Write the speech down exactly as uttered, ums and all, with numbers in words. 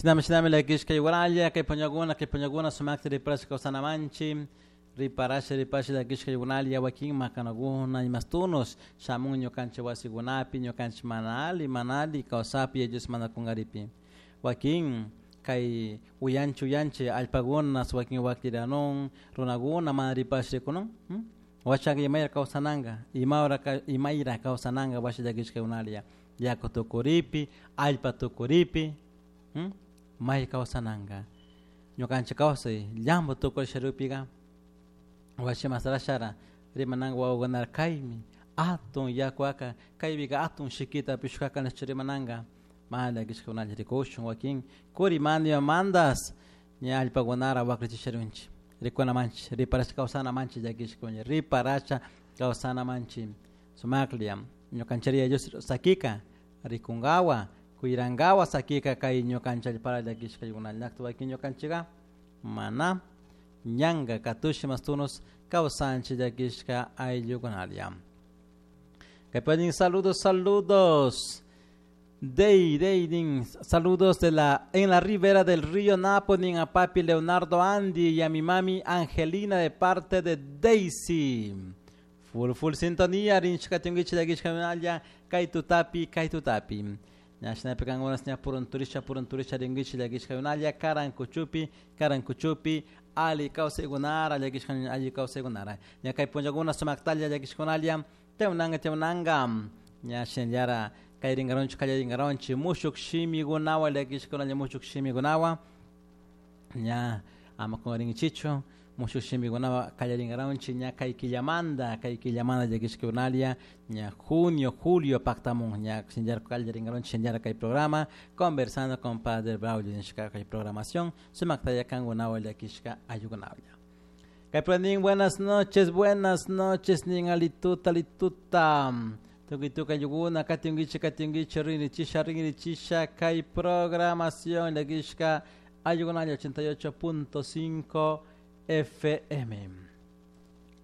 Shinami shinami llakishka igualalla kay punllakuna kay punllakuna sumakta riparashka kawsanamanchik riparasha riparasha llakishka igualalla wakin makanakuna imastunos shamun ñukanchik wasikunapi ñukanchik mana alli mana alli kawsapi ellos mana kunkaripi wakin kay uyanchik uyanchik allpakuna wakin wakliranun runakuna mana riparasha rikunun washaka imayra kawsananka imawra imayra kawsananka washa llakishka igualalla yaku tukuripi allpa tukuripi may kawsananka ñukanchik kawsay llampu tukurisharupika washi masarashara rimananka wawakunara kaymi atun yakuaka kaypika atun shikita pishkaka nishpa rimananka mana llakishkakunalla rikushun wakin kurimanta imamantas ña allpakunara waklichisharunchik rikunamanchik riparasha kawsanamanchik llakishkuna riparasha kawsanamanchik sumaklla ñukanchik Dios sakika rikunkawa kuyrankawa sakika kay ñukanchik allpara llakishkakuna llakta wakin ñukanchikka mana ñanka katushi mastunos kawsanchik llakishka ayllukunalla kaypanin saludos saludos Dey, dey, din, saludos de la, en la ribera del río Napo, nin a papi Leonardo Andy y a mi mami Angelina de parte de Daisy. Full, full sintonía, rinchka tiungichi llakishka kay tutapi, kay tutapi. Ñashinapi kankunas ña purunturisha, purunturisha ringichi llakishka karankuchupi, karankuchupi, ali kawsaykunara, llakishka alli kawsaykunara. Ña kay punllakuna sumaktalla llakishkunalla, tewnanga, tewnanga, ña shinallara kayrinkaronchik kallarinkaronchik mushuk shimikunawan llakishkunalla mushuk shimikunawan ña ama kunkarinkichikchu mushuk shimikunawan kallarinkaronchik ña kay killamanta kay killamanta llakishkunalla ña junio julio paktamun ña shinallara kallarinkaronchik shinallara kay programa conversando con Padre Braulio nishka kay programación sumaktalla kankunawan llakishka ayllukunawlla. Kay buenas noches, buenas noches, nin alituta, alituta. Tukuy tukuy ayllukuna, katinkichik, katinkichik, rinrichisha, rinrichisha, kay programación llakishka ayllukunalla ochenta y ocho punto cinco F M.